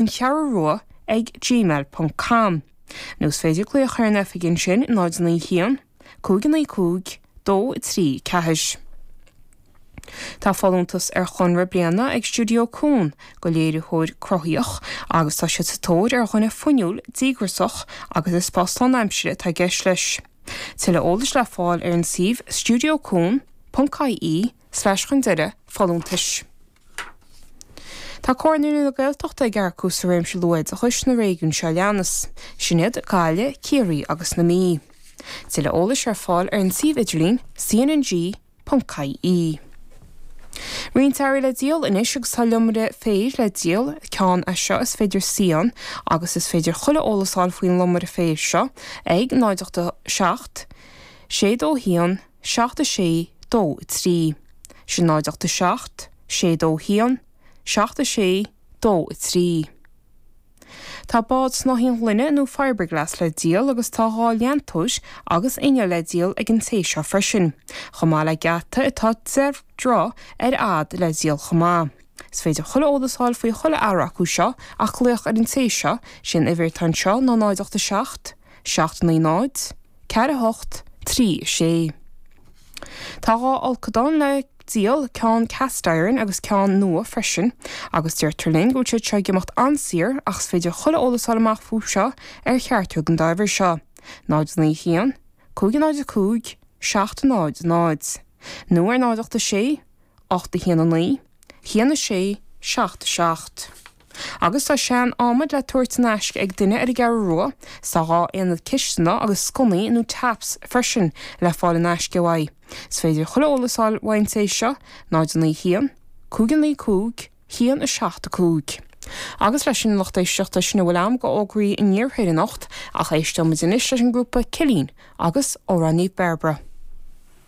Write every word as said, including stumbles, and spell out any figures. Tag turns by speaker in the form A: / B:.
A: An Cheathrú Rua ag gmail ponc com. Nó is féidir glaoch ar an oifig ansin, náid naoi haon, cúig naoi cúig, dó trí ceathair. Tá folúntas ar chonradh bliana ag Stiúideo Cuan do léiritheoir cruthaíoch agus tá siad sa tóir ar dhuine fuinniúil, díograiseach agus is post lánaimseartha atá i gceist leis. Tuilleadh eolais le fáil ar an suíomh stiúideocuan ponc ie slash chun deireadh folúntais. Tá Comhairle na Gaeltachta ag earcú sa réimse luathoideachais sna réigiúin seo a leanas, sin iad Gaillimh, Ciarraí agus na Mí. Tuilleadh eolais ar fáil ar an suíomh idirlín cnng ponc ie. Roinnt earraí le díol anois agus tá lomaire féir le díol, ceann é seo is féidir suí ann agus is féidir chuile eolas a fháil faoin lomaire féir seo ag náid ocht a seacht, sé dó haon, seacht a sé, dó a trí. Sin náid ocht a seacht, sé dó haon, seacht a sé, dó a trí. Tá bád snáithín gloine nó fiberglass le díol agus tá dhá leantóir agus inneall le díol ag an té seo freisin, chomh maith le geata atá deich dtroigh ar fhad le díol chomh maith. Is féidir chuile eolas a fháil faoi chuile earra acu seo ach glaoch ar an té seo, sé an uimhir atá anseo ná náid ocht a seacht, seacht naoi náid, ceathair a hocht, trí a sé. Tá dhá fholcadán le díol, ceann cast iron agus ceann nua freisin, agus deirtear linn go bhfuil siad seo ag imeacht an-saor ach is féidir chuile eolas a fháil amach fúthu seo ar cheachtar den dá uimhir seo, náid naoi haon, cúig náid a cúig, seacht náid náid, nó ar náid ocht a sé, ocht a haon a naoi, haon a sé, seacht a seacht. Agus tá sean adhmad le tabhairt in aisce ag duine ar an gCeathrú Rua, 's tá dhá aonad cisteanach agus sconnaí nó taps freisin le fáil in aisce uaidh. Is féidir chuile eolas a fháil uaidh an té seo, náid a naoi haon, cúig a naoi cúig, haon a seacht a cúig. Agus leis sin a lucht éisteachta, sin a bhfuil agam de fhógraí an iarthair anocht, ach éisteoimid anois leis an ngrúpa Cillín agus Amhrán Naomh Bairbre.